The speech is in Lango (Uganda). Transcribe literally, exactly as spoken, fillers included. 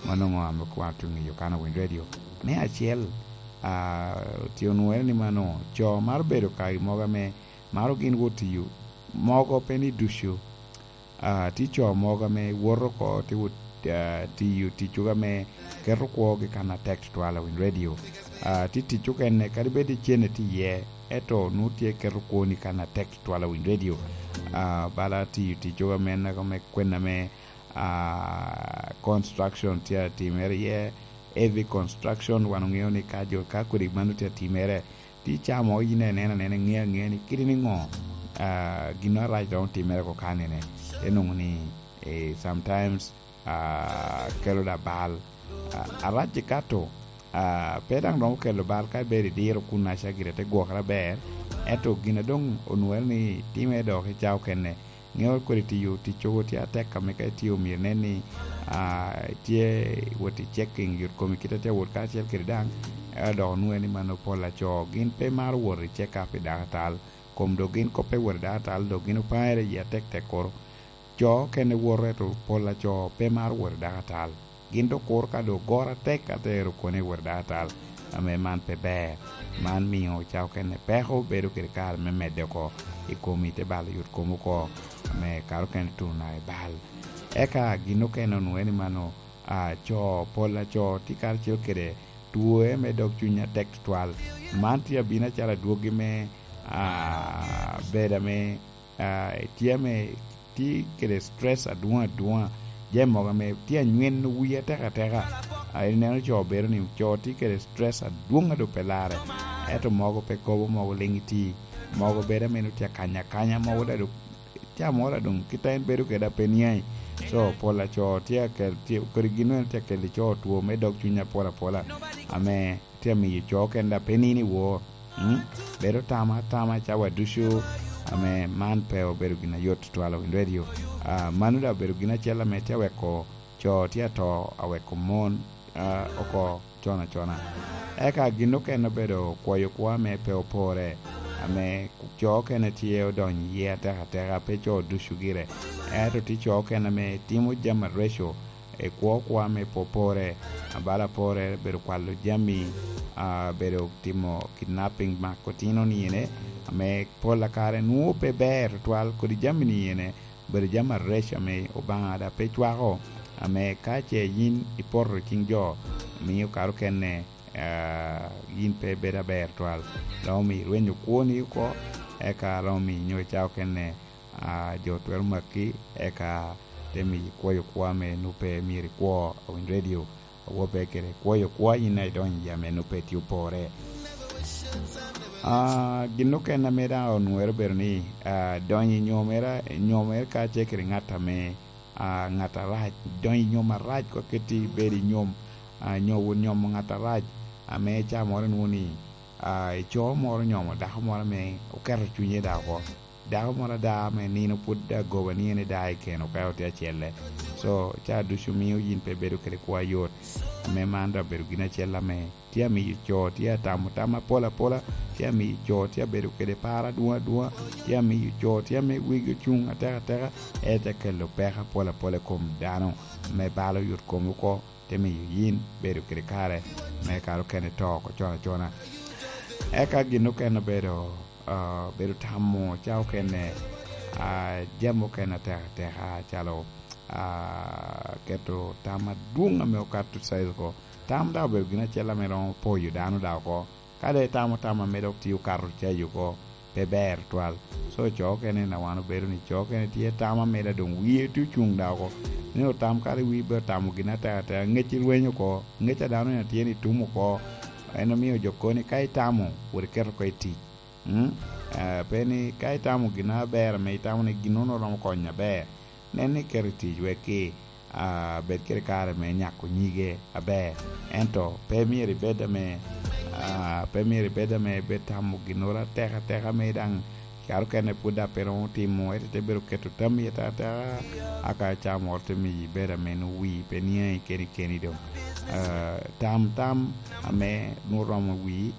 Mano ŋo ame kwano tuŋ i Yokana Wind Radio? Me acel, ah, tye onwoŋere ni mano, co maro bedo ka i mogo ame maro gin wot tiyo, mogo pe ni ducu. Ah, tye co mogo ame woto oko, tye wot, ah, tiyo ticcogo ame keto kwogi kan atek tutwal a Wind Radio. Ah, tye tic okene, kadi bed icenne tye iye, ento nwoŋo tye keto kwoni kan atek tutwal a Wind Radio. Ah, bala tiyo ticcogo ame, ame kwen ame, ah, construction tye atimere iye, heavy construction, wan oŋeo ni ka jo, ka kodi mano tye atimere, tye ca mo yin ineno anena, iŋeo aŋea ni kite ni ŋo, ah, gin arac romo timere oko kanene. Te nwoŋo ni, eh, sometimes, ah, kelo da bal. Ah, arac ikato, ah, pe daŋ romo kelo bal ka ibedo idiro kun aca gire te gwokere aber, ento gin a doŋ onwoŋere ni time dok i ca okene, ŋeo kodi tiyo ticcogo tye atek ame ka itye omyero inen ni, ah, itye wot i checking yot komi kite tye awot kacel kede daŋ, ento dok onwoŋo ni mano pol aco gin pe maro wot i check up i dakatal, kom dok gin kop pe wot i dakatal, dok gin opare i atek tek koro. Co okene woto, ento pol aco pe maro wot i dakatal. Gin dok kuro ka dok ogoro atek, atero kone i wot dakatal, ame man pe ber. Man mio ca okene peko bedo kede kare me medde oko i komi, te balo yot kom oko, ame kare okene tuno naka i bal. Eka gin okene onwoŋo ni mano, ah, co, pol aco tye karacel kede twoe me dog cuny atek tutwal. Man tye abino acalo adwogi me, ah, bedo ame, ah, tye ame tye kede stress adwoŋ adwoŋa. Jami mogo ame tye anyweno wii atek ateka. Ah, ineno co bedo ni co tye kede stress adwoŋ a doŋ pe larre. Ento mogo pe kobo, mogo liŋ iti. Mogo bedo ame nwoŋo tye akanya akanya, mogo daŋ doŋ ca moro a doŋ kit a en bedo kede a pe niaŋ. So, pol aco tye akel, tye, kodi gin eno tye akel i co two me dog cuny apol apola, ame tye amiyo co kende a pe nino i wor. Mm? Bedo tama atama cawa ducu, ame man pe obedo gin ayot tutwal i Radio. Ah, mano daŋ obedo gin acel ame tye aweko co tye ato aweko mon, ah, oko con acona. Eka gin okene obedo kwoyo kwo ame pe opore, ame co okene tye odonyo iye atek ateka, pe co ducu gire. Ento tye co okene ame timo jami areco, i kwo kwo ame pe opore, abala pore, bedo kwalo jami, ah, bedo timo kidnapping, mako tino niyene, ame pol a kare nwoŋo pe ber tutwal kodi jami niyene, bedo jami areco ame Obaŋa daŋ pe cwako, ame ka ce yin ipoto i ciŋ jo, mio kare okene, ah, yin pe ibedo aber twal. Romo miyo irwenyo kwoni oko, eka romo miyo nyo i ca okene, ah, jo twero maki, eka te miyo ikwoyo kwo ame nwoŋo pe myero ikwo i Radio. Awope kede kwoyo kwo yin a idonyo i yam en pe tye opore. Ah, gin okene ame daŋ onwoŋere obedo ni, ah, donyo i nyomere, nyomere kacel kede ŋat ame, ah, ŋat arac, donyo i nyom arac, kwa keti bedo i nyom, ah, nyo-, nyomo ŋat arac, ame ca moro inwoŋo ni, ah, ico moro nyomo dako moro ame oketo cunye daŋ oko. Dako moro ada ame nino pwod agoba ni en eda i keno ka otye acelle. So, ca ducu mio yin pe ibedo kede kwo ayot. Ame man daŋ obedo gin acel ame tye amiyo co tye atamo tam apol apola, tye amiyo co tye abedo kede par adwoŋ adwoŋa, tye amiyo co tye ame wigi ocuŋ ateka ateka, ete kelo peko apol apola i kom dano, me balo yot komi oko, te miyo yin bedo kede kare me kare okene to oko con acona. Eka gin okene obedo, ah, bedo tamo ca okene, ah, jami okene ateka ateka, calo, ah, keto tam adwoŋ ame okato cayi oko. Tam daŋ obedo gin acel ame romo poyo dano daŋ oko. Ka doŋ itamo tam ame dok tye okato cayi oko, pe ber twal. So, co okene na wan obedo ni co okene tye tam ame daŋ doŋ wie tye ocuŋ daŋ oko. Ni otam kara i wi be otamo gin ateka ateka, ŋec irweny oko, ŋec a dano en tye ni tum oko. En omio jo koni ka itamo, wot iketo oko i tic. Mm? Eh, pe ni ka itamo gin aber ame itamo ni gin-nono romo konyo aber, nen ni iketo i tic wek ki, ah, bed kede kare me nyako nyige aber. Ento pe myero ibed ame, ah, pe myero ibed ame ibed tamo ginnoro ateka ateka ame daŋ kare okene pwod daŋ pe romo timo, ento ite bedo keto tammi ateka ateka, aka ca moro te miyo ibed ame nwoŋo wii pe niaŋi keni keni doŋ. Ah, tam tam ame nwoŋo romo wii,